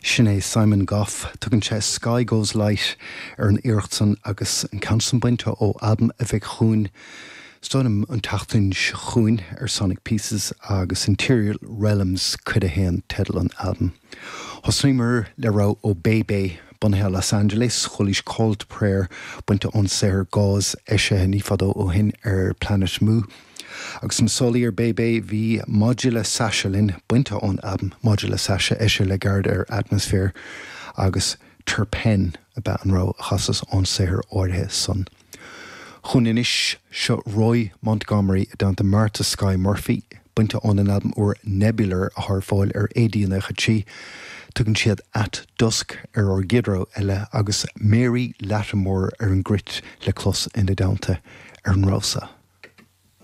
Sin é Simon Gough. Tugann sé Sky Goes Light ar an iarracht san agus an ceann san bainte ó albam a bheidh chugainn, is dóigh liom, an tseachtain seo chugainn ar Sonic Pieces agus Interior Realms Cuid 1 teideal an albaim. Thosnaíomar le rogha ó Bebe, bunaithe i Los Angeles, chualaís Call to Prayer bainte ón saothar Gauze eisithe ní fadó ó shin ar Planet Mu. Agus na sálaí ar Bebe bhí Maidir le Sasha Lynn bainte ón albam Maidir le Sasha eisithe le gairid ar Atmosphere agus Terpen ab ea an rogha a chasas ón saothar áirithe san. Chugainn anois, seo Roy Montgomery i dteannta Martha Skye Murphy, bainte óna n-albam úr Nebular atá ar fáil ar AD 93. Tugann siad At Dusk ar ár gcéad rogha eile agus Mary Lattimore ar an gcruit le clos ina dteannta ar an rogha seo.